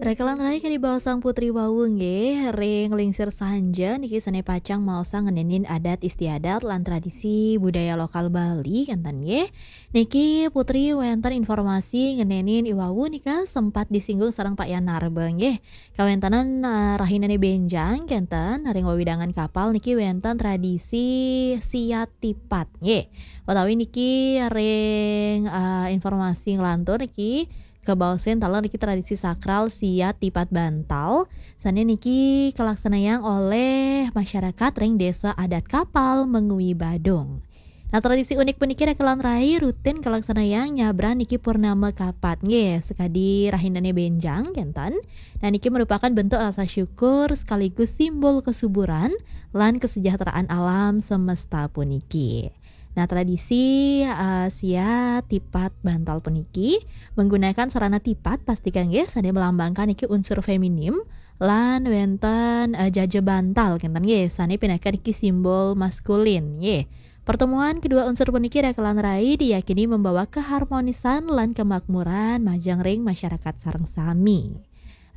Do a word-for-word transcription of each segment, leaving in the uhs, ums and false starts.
Rekelan rai kadi baosang Putri wau nggih, ring lingsir sanja niki sané pacang maosang ngenénin adat istiadat lan tradisi budaya lokal Bali kénten nggih. Niki Putri wénten informasi ngenénin iwau nika sempat disinggung sareng Pak Yanarba nggih. Kawéntenan, eh, rahinané bénjang kénten ring wewidangan Kapal niki wénten tradisi siat tipat nggih. Utawi niki ring, eh, informasi nglantur niki kabaosin taler niki tradisi sakral siat tipat bantal, sané niki kalaksanayang olih masyarakat ring Désa Adat Kapal Mengwi Badung. Nah, tradisi unik puniki rekelan rai rutin kalaksanayang nyabran niki purnama kapat nggih, sakadi rahinané bénjang kénten. Nah, niki merupakan bentuk rasa syukur sekaligus simbol kesuburan lan kesejahteraan alam semesta puniki. Nah, tradisi, eh, siat tipat bantal puniki menggunakan sarana tipat pastika nggih sané melambangkan niki unsur feminim lan wénten, eh, jaja bantal kénten nggih sané pinaka niki simbol maskulin nggih. Pertemuan kedua unsur puniki rekelan rai diyakini membawa keharmonisan lan kemakmuran majeng ring masyarakat sareng sami.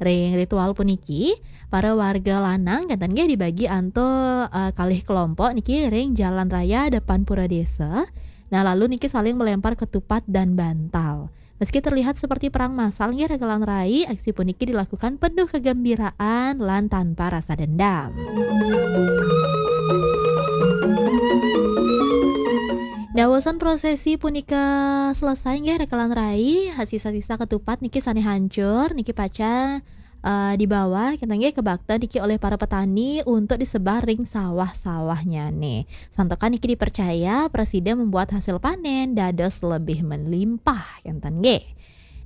Ring ritual puniki, para warga lanang kénten nggih dibagi antuk, eh, kalih kelompok niki ring jalan raya depan pura desa. Nah, lalu niki saling melempar ketupat dan bantal. Meski terlihat seperti perang massal nggih rekelan rai, aksi puniki dilakukan penuh kegembiraan lan tanpa rasa dendam. Dawasan prosesi punika selesai nggih rekelan rai, sisa-sisa ketupat niki sané hancur niki pacang, eh, dibawa kénten nggih kebakta niki oleh para petani untuk disebar ring sawah-sawahnyané. Santukan niki dipercaya prasida membuat hasil panen dados lebih melimpah kénten nggih.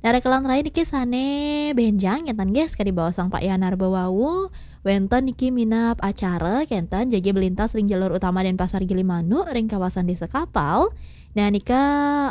Nah, rekelan rai niki sané bénjang kénten nggih, sakadi baosang Pak Yanarba wau, wénten niki minab acara kénten jagi melintas ring jalur utama Denpasar Gilimanuk ring kawasan Désa Kapal. Nah, nika,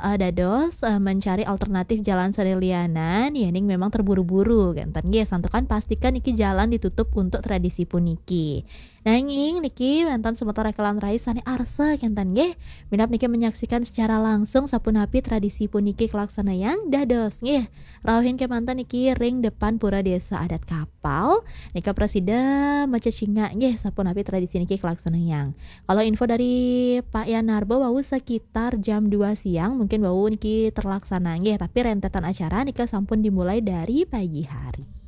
eh, dados, eh, mencari alternatif jalan sané lianan, yéning memang terburu-buru kénten nggih, santukan pastikan niki jalan ditutup untuk tradisi puniki. Nanging niki wénten semeton rekelan rai sané arsa kénten nggih. Minab niki menyaksikan secara langsung sapunapi tradisi puniki kalaksanayang dados nggih. Rauhin kémanten niki ring depan Pura Désa Adat Kapal. Nika prasida macecingak nggih sapunapi tradisi niki kalaksanayang. Kalau info dari Pak Yanarba wau sekitar jam dua siang mungkin wau niki terlaksana nggih, tapi rentetan acara nika sampun dimulai dari pagi hari.